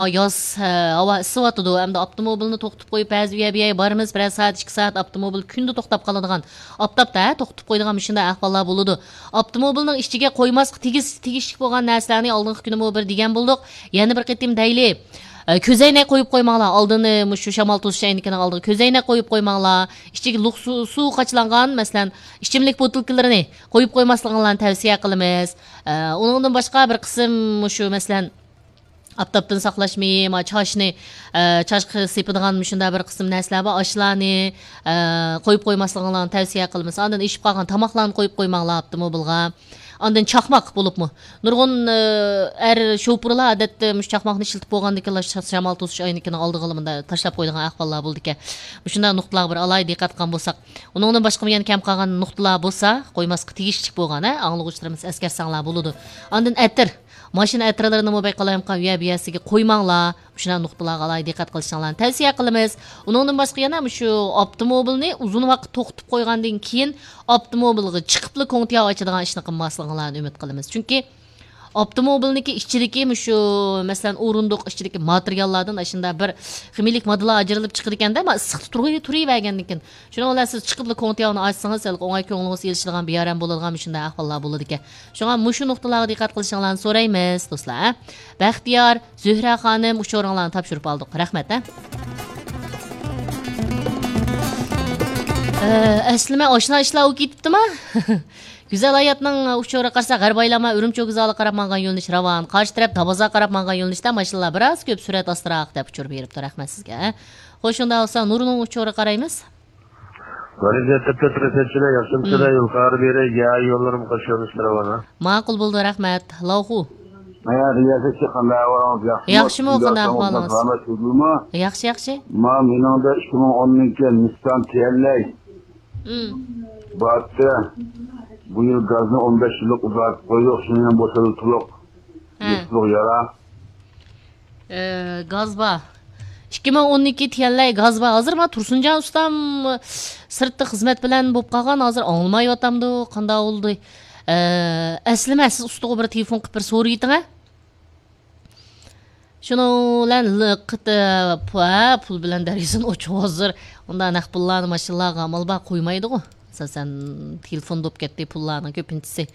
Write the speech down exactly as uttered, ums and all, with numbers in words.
ياز، ھە، ھاۋا ئىسسىۋاتىدۇ. ئەمدى ئاپتوموبىلنى توختىتىپ قويۇپ، بەزى ئۇ يەر بۇ يەرگە بارىمىز، بىرەر سائەت، ئىككى سائەت ئاپتوموبىل كۈندە توختاپ قالىدىغان، ئاپتاپتا، ھە، توختىتىپ قويىدىغان مۇشۇنداق ئەھۋاللار بولىدۇ. ئاپتوموبىلنىڭ ئىچىگە قويماسقا تېگىش-، تېگىشلىك بولغان نەرسىلەرنى ئالدىنقى كۈنىمۇ بىر دېگەن بولدۇق. يەنە بىر قېتىم دەيلى. ئە، كۆزەينەك قويۇپ قويماڭلار. ئالدىنى مۇشۇ شامال توسۇش ئەينىكىنىڭ ئالدىغا كۆزەينەك قويۇپ قويماڭلار. ئىچىگە لۇق سۇ، سۇ قاچىلانغان، مەسىلەن، ئىچىملىك بوتۇلكىلىرىنى قويۇپ قويماسلىقىڭلارنى تەۋسىيە قىلىمىز. ئە، ئۇنىڭدىن باشقا بىر قىسىم مۇشۇ، مەسىلەن، ئاپتاپتىن ساقلاش مېيى، ما چاچنى، ئە، چاچقا سېپىدىغان مۇشۇنداق بىر قىسىم نەرسىلەر بار. ئاشۇلارنى، ئە، قويۇپ قويماسلىقىڭلارنى تەۋسىيە قىلىمىز. ئاندىن ئېشىپ قالغان تاماقلارنى قويۇپ قويماڭلار ئاپتوموبىلغا. ئاندىن چاقماق بولۇپمۇ. نۇرغۇن، ئە، ئەر شوپۇرلار ئادەتتە مۇشۇ چاقماقنى ئىشلىتىپ بولغاندىن كېيىن شامال توسۇش ئەينىكىنىڭ ئالدىغىلا مۇنداق تاشلاپ قويىدىغان ئەھۋاللار بولىدىكەن. مۇشۇنداق نۇقتىلارغا بىر ئالاھىدە دىققەت قىلغان بولساق. ئۇنىڭدىن باشقىمۇ يەنە كەم قالغان نۇقتىلار بولسا، قويماسلىققا تېگىشلىك بولغان، ھە، ئاڭلىغۇچىلىرىمىز ئەسكەرسەڭلار بولىدۇ. ئاندىن ئەتىر. ماشىنا ئەتىرلىرىنىمۇ بەك قالايمىقان ئۇ يەر بۇ يەرسىگە قويماڭلار. مۇشۇنداق نۇقتىلارغا ئالاھىدە دىققەت قىلىشىڭلارنى تەۋسىيە قىلىمىز. ئۇنىڭدىن باشقا يەنە مۇشۇ ئاپتوموبىلنى ئۇزۇن ۋاقىت توختىتىپ قويغاندىن كېيىن ئاپتوموبىلغا چىقىپلا كوڭتىياۋ ئاچىدىغان ئىشنى قىلماسلىقىڭلارنى ئۈمىد قىلىمىز. چۈنكى ئاپتوموبىلنىڭكى ئىچىدىكى مۇشۇ، مەسىلەن، ئورۇندۇق ئىچىدىكى ماتېرىياللاردىن ئاشۇنداق بىر خىمىيىلىك ماددىلار ئاجرىلىپ چىقىدىكەندە، ما ئىسسىقتا تۇرۇ-، تۇرۇۋەرگەندىن كېيىن. شۇنىڭ بىلەن سىز چىقىپلا كوڭتىياۋنى ئاچسىڭىز، ھېلىقى ئوڭاي كۆڭلىڭىز ئېلىشىدىغان، بىئارام بولىدىغان مۇشۇنداق ئەھۋاللار بولىدىكەن. شۇڭا مۇشۇ نۇقتىلارغا دىققەت قىلىشىڭلارنى سورايمىز، دوستلار. بەختىيار، زۆھرە خانىم، ئۇچۇرۇڭلارنى تاپشۇرۇپ ئالدۇق. رەھمەت، ھە؟ ئە، ئەسلىمە ئاشنا ئىشلار ئۇ كېتىپتىما؟ گۈزەل ھاياتنىڭ ئۇچۇرىغا قارىساق، غەربىي ئايلانما ئۈرۈمچى ئوگىزالىغا قاراپ ماڭغان يۆنىلىش راۋان، قارشى تەرەپ دابازاغا قاراپ ماڭغان يۆنىلىشتە ماشىنىلار بىراز كۆپ، سۈرئەت ئاستىراق، دەپ ئۇچۇر بېرىپتۇ. رەھمەت سىزگە. خوش، شۇنداق بولسا نۇرنىڭ ئۇچۇرىغا قارايمىز. بەرىكەت، تەپتە تۇرۇشەتچىلەر، ياخشىمۇسىلەر؟ مم. يول قارا بېرى، يا يوللىرىم قاش يۆنىلىشتە راۋان، ھە؟ ماقۇل بولدى، رەھمەت. لاۋخۇ. ھە، رىياسەتچى، قانداق ئەھۋالىڭىز؟ ياخشىمۇ؟ ياخشىمۇ، قانداق ئەھۋالىڭىز؟ سالامەتسىزمۇ؟ ياخشى، ياخشى. ما، مېنىڭدە ئىككى مىڭ ئونىنچى يىل نىسسان تىيەنلەي. مم. بارتى. بۇ يىل گازنى ئون بەش يىللىق ئۇزارتىپ قويدۇق، شۇنى ھەم بوشىدىلدۇق. ھە. يېپىشلىق يارا. ئە، گاز بار. ئىككى مىڭ ئون ئىككى تىيەنلەي گاز بار. ھازىر ما تۇرسۇنجان ئۇستام سىرتتا خىزمەت بىلەن بولۇپ قالغان، ھازىر ئاڭلىمايۋاتامدۇ، قانداق بولدى؟ ئە، ئەسلىمە، سىز ئۇستىغا بىر تېلېفون قىلىپ بىر سورىيىتىڭە. شۇنىڭ بىلەن لىقىت، ئە، پۇ-، ھە، پۇل بىلەن دەرياسىنى ئوچۇق ھازىر. ئۇنداق نەق پۇللارنى ماشىنىلارغا ئامال بار قويمايدىغۇ. ئاساسەن تېلېفون بولۇپ كەتتى پۇللارنىڭ كۆپىنچىسى.